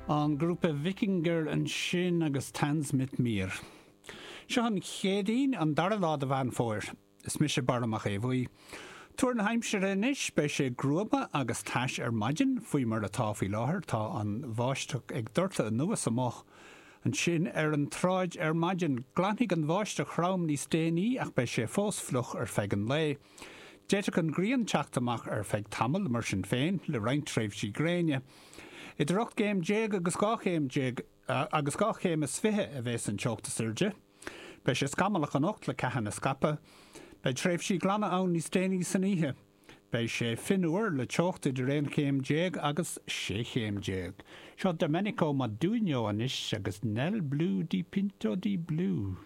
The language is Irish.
An grúpa Wikinger ansin agus Tanz mit mir. Seo an Chéadaoin, an dara lá de Mheán Fómhair. Is mise Barra Mac Aodha Bhuí. Tuar na haimsire anois, beidh sé gruama agus tais ar maidin, faoi mar atá faoi láthair, tá an bháisteach ag doirteadh anuas amuigh ansin ar an tsráid ar maidin. Glanfaidh an bháisteach throm níos déanaí ach beidh sé fós fliuch ar feadh an lae. D'fhéadfadh an ghrian teacht amach ar feadh tamaill, mar sin féin, le roinnt tréimhsí gréine. Idir 18 gcéim agus 12 chéim agus 2 chéim is 20 a bheas an teocht is airde. Beidh sé scamallach anocht le ceathanna scaipthe. Beidh tréimhsí glana ann níos déanaí san oíche. Beidh sé fionnuar le teocht idir 11 chéim agus 16 chéim. Seo Domenico Modugno anois agus Nel blu dipinto di blu.